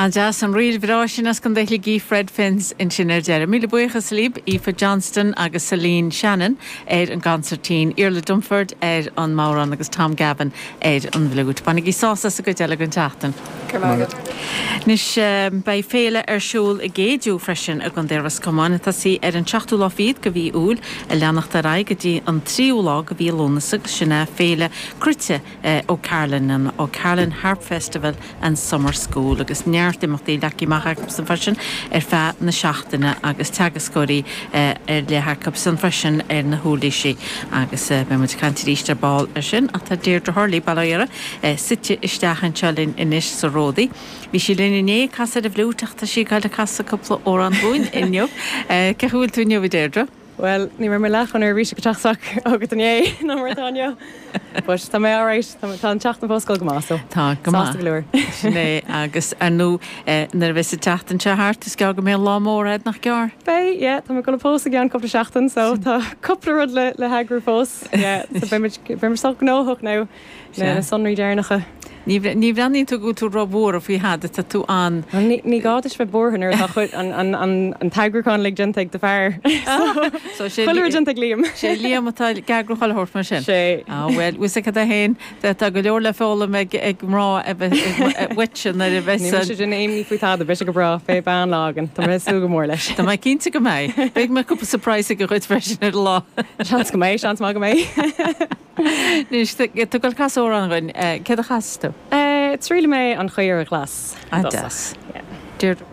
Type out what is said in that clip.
An-deas, an ríl bhreá sin as Contae Shligigh, Fred Fence ansin ar deireadh. Míle buíochas libh, Aoife Johnston agus Celine Shannon ar an gconsairtín, Iarla Dunford ar an mbodhrán agus Tom Gavin ar an bhfliúit. Bainigí sásamh as an gcuid eile den tseachtain. Go raibh maith agat. Anois, beidh féile ar siúl i gCéidiú freisin i gContae Ros Comáin, ag tosaí ar an seachtú lá fichead de mhí Iúil, ag leanacht ar aghaidh go dtí an tríú lá de mhí Lúnasa agus sin é Féile Cruite O'Carolan, an O'Carolan Harp Festival and Summer School agus neart imeachtaí leagtha amach acusan freisin ar feadh na seachtaine agus teagascóirí ar leith acusan freisin ar na huirlisí agus beidh muid ag caint arís ar ball ar sin ach tá Deirdre Hurley, Baile Átha Fhirdhia, suite isteach anseo linn anois sa Ródaí. Bhí sí linn inné ag casadh ar an bhfliúit ach tá sí ag dul ag casadh cúpla amhrán dúinn inniu. Cén chaoi a bhfuil tú inniu a Deirdre? Bhuel, ní raibh mé leath chomh neirbhíseach ag teacht isteach chugat inné ná mar atá inniu. But tá mé alright, tá tá an tseachtain fós ag dul go maith so Tá, go maith. sásta go leor. Sin é, agus ar ndóigh nuair a bheas an tseachtain seo thart is gearr go mbeidh an lá mór a'd, nach gearr? Beidh, yeah, tá mé ag dul ag pósadh i gceann cúpla seachtain so tá cúpla rud le le heagrú fós, yeah, so beidh muid beidh muid sách gnóthach now. Sea. Na sonraí deireanacha. Ní bhreathnaíonn tú go bhfuil tú ró-bhuartha faoi thada, tá tú an. Bhuel, ní gá duit bheith buartha nuair atá chuid an t-eagrúchán uilig déanta ag do fear. So, sé Chuile rud déanta ag Liam. Sé Liam atá ag eagrú chuile shórt mar sin. Sé. Ah, bhuel, bhfuil 'fhios agat féin, tá go leor le foghlaim ag mná a bheith uaitse nuair a bheas Ní mise ag déanamh imní faoi tada, beidh sé go breá, beidh an-lá againn, tá mé ag súil go mór leis. Tá mé cinnte go mbeidh. Beidh mé cúpla surprise aige dhuit freisin ar an lá. Seans go mbeidh, seans maith go mbeidh. Anois, tá tú ag dul casadh amhrán dhúinn. Céard a chasfas tú? Triailfidh mé An Chaora Ghlas. Ah, deas. Deirdre.